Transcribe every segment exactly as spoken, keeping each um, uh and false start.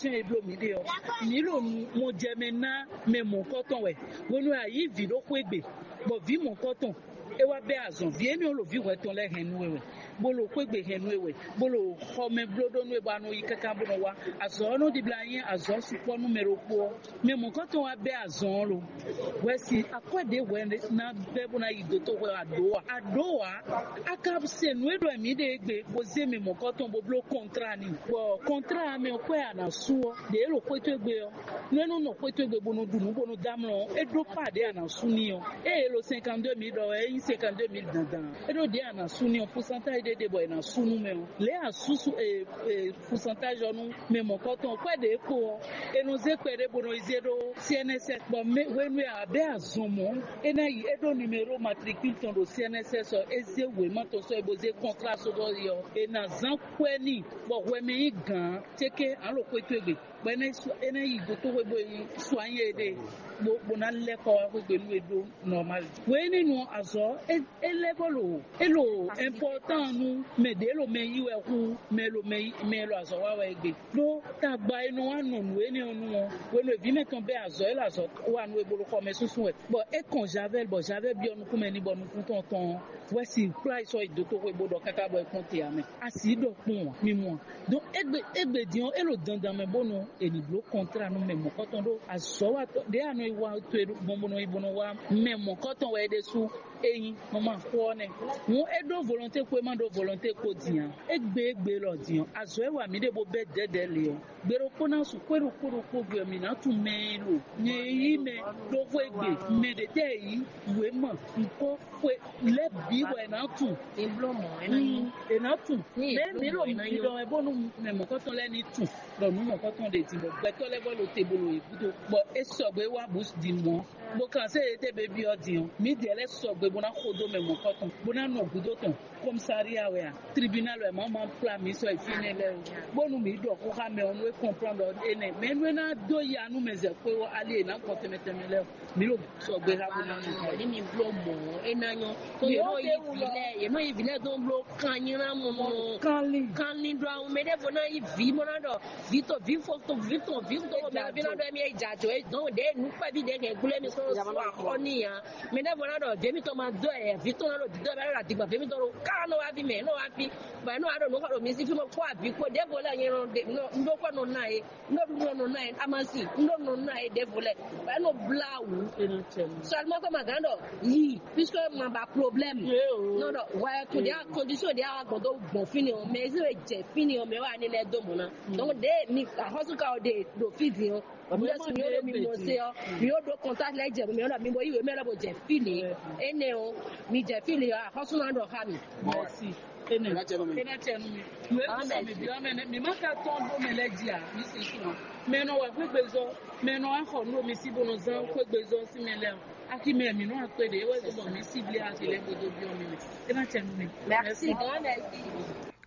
Sɛn e bló mǐ ɖe ɔ́, mǐ ɖo mɔjɛmɛ ná mɛ mɔ̌hunkɔtɔn wɛ. Hwenu e a yǐ vǐ ɖó xwé gbe, bɔ vǐ mɔ̌hunkɔtɔn é wá bɛ́ azɔn, vǐ énɛ́ ɔ́ ɖo vǐ hwɛtɔn lɛ́ɛ hɛn nú we wɛ, bó ɖo xwé gbe hɛn nú we wɛ, bó ɖo xɔmɛ bló ɖó nú we bɔ a nɔ yi káká bó nɔ wá. Azɔ̌ ɔ́ nɔ ɖibla nyí azɔ̌ sukpɔ́ nú mɛ ɖokpó ɔ́. Mɛ mɔ̌hunkɔtɔn wá bɛ́ azɔn ɔ́ lo. Hwɛsi akwɛ́ ɖě hwɛ ná bɛ́ bó ná yi dotóxwɛ wɛ a ɖǒ a? A ɖǒ ǎ. A ka se nǔ e ɖɔ mǐ ɖe égbé bó zé mɛ mɔ̌kɔtɔn bó bló kɔntrá n'i. Bɔ kɔntrá ɔ́ mɛ ɔ́, kwɛ́ a nǎ sú ɔ́, ɖě e ɖo xwé towe gbe ɔ́, nú é nɔ nɔ xwé towe gbe bó nɔ ɖu nǔ bó nɔ dɔ́ amlɔ ɔ́, é ɖó pá ɖě a nǎ sú n'i ɔ́. Ée é ɖo cinquante-deux mille ɖɔ wɛ, é nyí cinquante-deux mille dandan. É ɖó ɖě a nǎ sú n'i ɔ́, pourcentage ɖé ɖe bɔ è nǎ sú nú mɛ ɔ́. Lě e a sú sú e e pourcentage ɔ́ nú mɛ mɔ̌kɔtɔn ɔ́, kwɛ́ ɖě kpo ɔ́, è nɔ zé kpɛɖé bó nɔ yi zé ɖó C N S S, bɔ mɛ hwenu e a bɛ́ azɔn mɔ̌, é ná yi é ɖó numéro matricule tɔn ɖo C N S S ɔ́, é zé wěma tɔn sɔ́ yi bó zé kɔntrá sóbɔ́ yi ɔ́, è nǎ zán kwɛ́ n'i, bɔ hwɛ mɛ nyí gǎn céké ǎ ɖo xwé towe gbe, bɔ é ná yi su- é ná yi dotóxwé bó yi soigné éɖée, bó bó ná lɛ́ kɔ wá xwé gbe nú é ɖó normal. Hwenɛ́nu ɔ́, azɔ̌ é é lɛ́ bó ɖo é ɖo important nú mɛ ɖě ɖo mɛ yí wɛ hú mɛ ɖo mɛ yí mɛ e ɖo azɔ̌ wa wɛ é gbe. Ɖó tagba e nɔ wá nɔ nǔ énɛ́ ɔ́ nu ɔ́, hwenu e vǐ mɛtɔn bɛ́ azɔ̌ e ɖo azɔ̌ wa nú é bó ɖo xɔ mɛ súnsún wɛ, bɔ é kɔn Javɛ́li bɔ Javɛ́li byɔ́ nukún mɛ n'i bɔ nukún tɔn tɔn ɔ́, wɛ si kplá yi sɔ́ yi dotoxwé bó ɖɔ káká bɔ é kpɔ́n te ǎ mɛ. A sǐ ɖɔ kpɔ́n ǎ, mi mɔ a? Donc égbé égbé din ɔ́, é ɖo dandan mɛ bónú è nǐ bló kɔntrá nú mɛ mɔ̌kɔtɔn ɖó azɔ̌watɔ́ ɖě a nɔ yi wa to e gbɔn bó nɔ yi bó nɔ wá mɛ mɔ̌kɔtɔn wɛ é ɖésú. É nyí mama xó ɔ́ nɛ́. Hǔn é ɖó volonté kpó é má ɖó volonté kpó din ǎ. Égbé égbé lɔ din ɔ́, azɔ̌ e wa mǐ ɖe bó bɛ́ dɛ̌dɛ̌ lě ɔ́, gbe ɖokpó ná su xwé ɖokpó ɖokpó gbe ɔ́, mǐ ná tunwun mɛ e lo nyɛ e yí mɛ ɖó xwé gbe, mɛ ɖě tɛ́ e yǐ wěma, ŋkɔ́, xwe lɛ́ɛ bǐ bɔ è nǎ tunwun. È bló mɔ̌, é ná nyí. È nǎ tunwun. Ní è Mɛ bló mǐ ɖo mɔ̌, é ná nyí nyí. Ɖɔ wɛ bónú mɛ mɔ̌kɔtɔn lɛ́ɛ ní tunwun ɖɔ nǔ mɔ̌kɔtɔn ɖe din bɔ gbɛtɔ́ lɛ́ɛ vɔ ɖo te bo ɖo yě gúdo, bɔ é sɔgbe wá bǔ din mɔ̌. Bó kan sé e tɛ́ bebí ɔ́ din ɔ́, mǐdɛɛ lɛ́ɛ sɔgbe bó ná xo dó mɛ mɔ̌kɔtɔn, bó ná nɔ gǔdo tɔn kɔmsária wɛ a, tribunal wɛ mǎ ma kplá mǐ sɔ́ yi fínɛ́ lɛ́ɛ o, bónú mǐ ɖɔ xó xá mɛ ɔ́ nú é kɔnplán ɖɔ énɛ́, mɛ nú é ná dó ya nú mɛ zɛ xwé ɔ́, ali e nǎ gbɔn tɛnmɛ tɛnmɛ lɛ́ɛ ɔ́, mǐ ɖo sɔgbe xá bó ná nɔ. Ní mi bló mɔ̌, é ná nyɔ́. Tó yě nɔ yí vǐ lɛ́ɛ, yě nɔ yí vǐ lɛ́ɛ dó bló kan nylá mɔ nɔ. Kanlin. Kanlin ɖo awu mɛ ɖěvo ná yí vǐ bó ná ɖɔ vǐ to vǐ fo to vǐ tɔn vǐ to mɛ ɔ́ bí ná ɖɔ émí é jɛ ajɔ é dɔn ɖě nǔkpɛ́ví ɖě hɛn gblé mì sɔ́ sɔ axɔ n'i ǎ. Mɛ ɖěvo ná ɖɔ vǐ mitɔn ma dó ɛ vǐ tɔn ná ɖo dǐdɔ́ ɛ bá ɖo adigbɔn vǐ mitɔn ɖo ká nɔ wá ví mɛ nɔ wá ví bɔ ɛ nɔ wá ɖo nǔ xɔ ɖo mi sí fí mɔ kpó abǐ kpó ɖěvo lɛ́ɛ nyɛ nɔ ɖe nɔ un ɖó kɔ nɔ ná é un ɖó ɖuɖu nɔ ná é amasi un ɖó nɔ ná é ɖěvo lɛ́ɛ bɔ ɛ nɔ blá wǔ. Seulement que ma gán ɖɔ yi puisque ma ba problème. Non non ouais to dia condition dia wa gbɔn do gbɔn fini o mais ezi we jɛ fini o mais wa ni lɛ do mɔ na donc de mi ahɔsu ka o de do fi di o mi lɛ su mi o do mi mɔ se o mi o do contact lɛ jɛ mi o na mi bo yi we mɛ lɛ bo jɛ fini ene o mi jɛ fini o ahɔsu na dɔ ha mi. Merci. Ene ena tiɛ nu mi. Ìwé mi sɔ mi bi ɔmɛ nɛ mi ma ka tɔn do mɛ lɛ dzi a mi si sun a mɛ nɔ wa gbegbe zɔ mɛ nɔ wa xɔ nu mi si bo nɔ zan gbegbe zɔ si mɛ lɛ o. Akimɛ mi nɔ akpe ɖe ewɛ zɔ bɔ mi si bli ati lɛ godo bi ɔmɛ mɛ. Ena tiɛ nu mi. Merci. Grand merci.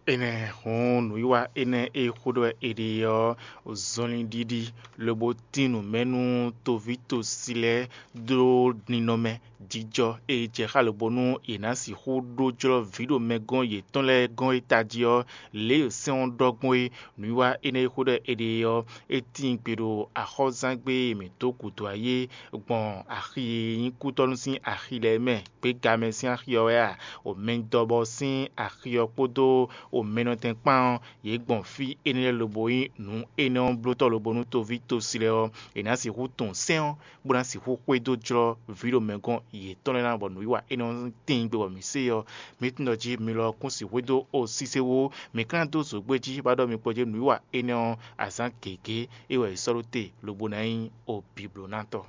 Enɛ hɔn nǔwiwa enɛ e xó ɖɔ è ɖe ɔ́, zɔnlin ɖiɖi lobo tín nǔ mɛ nú toví tosi lɛ́ɛ dó ninɔmɛ jijɔ e jɛ xá lobo nú yě ná sixú ɖó jlɔ́ vǐ ɖo mɛgɔ́n yětɔn lɛ́ɛ gɔ́n e tají ɔ́, lě e sɛ́n ɔ́ ɖɔ gbɔn é. Nǔwiwa énɛ́ e xó ɖɔ è ɖe ɔ́, é tíin gbe ɖo axɔ́zángbé e mǐ dó gǔdo ayé gbɔn axi e nyí kútɔ́nú sín axi lɛ́ɛ mɛ, gběgamɛ sín axi ɔ́ wɛ a? Omɛdɔbɔ sín axi ɔ́ kpódó omɛnɔtɛn kpán ɔ́, yě gbɔn fí énɛ́ lɛ́ɛ lobo nyí nǔ énɛ́ ɔ́ blótɔ́ lobo nú toví tosi lɛ́ɛ ɔ́, è nǎ sixú tunwun sɛ́n ɔ́, bó ná sixú xwedó jlɔ́ vǐ ɖo mɛ gɔ́n yětɔn lɛ́ɛ ná bɔ nǔwiwa énɛ́ ɔ́ tíin gbe bɔ mǐ se ɔ́, mǐ tunwun ɖɔ jí mi lɔ kún sixú dó o sísé wú, mǐ ka ná dó zǒgbé jí bá ɖɔ mi kpɔ́ jí nǔwiwa énɛ́ ɔ́, azǎn gěgé é wɛ è sɔ́ ɖó te lobo ná nyí o bǐblónátɔ́.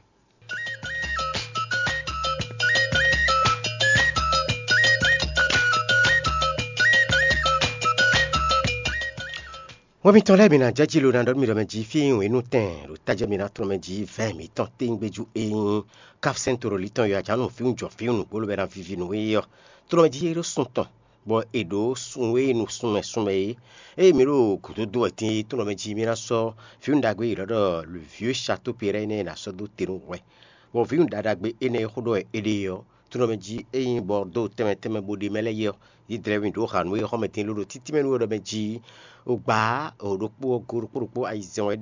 Hwɛ mitɔn lɛ́ɛ mi ná jɛ jí lo ná ɖɔ nú mi ɖɔ mɛ jí fí wěnú tɛn ɖo tájɛ mi ná tlɔ́n mɛ jí vɛ̌ mǐtɔn téŋgbéjú e nyí káfsɛ́n toro lítɔn yɔ ajǎnu fíwú jɔ fíwú nǔgbó lobɛ ná vivi nǔ é ɔ́, tlɔ́n mɛ jí é ɖó sun tɔn bɔ è ɖǒ sun e nu sunmɛ sunmɛ é. Ée mǐ ɖo gǔdo dó wɛ din é, tlɔ́n mɛ jí mí ná sɔ́ vǐwun ɖagbe e è ɖɔ ɖɔ le vieux château Péret énɛ́ ná sɔ́ dó te nú hwɛ, bɔ vǐwun ɖaɖagbe énɛ́ e xó ɖɔ wɛ è ɖe ɔ́, tlɔ́n mɛ jí é nyí bɔ dó tɛnmɛ tɛnmɛ bó ɖe mɛ lɛ́ɛ yi ɔ́, yi dlɛ̌ mì ɖǒ hǎnú e xɔ́mɛ din lóɖo títí mɛ nú we ɖɔ mɛ jí. O gbǎ o ɖokpó ɔ́ go ɖokpó ɖokpó ayizɛ́n wɛ ɖe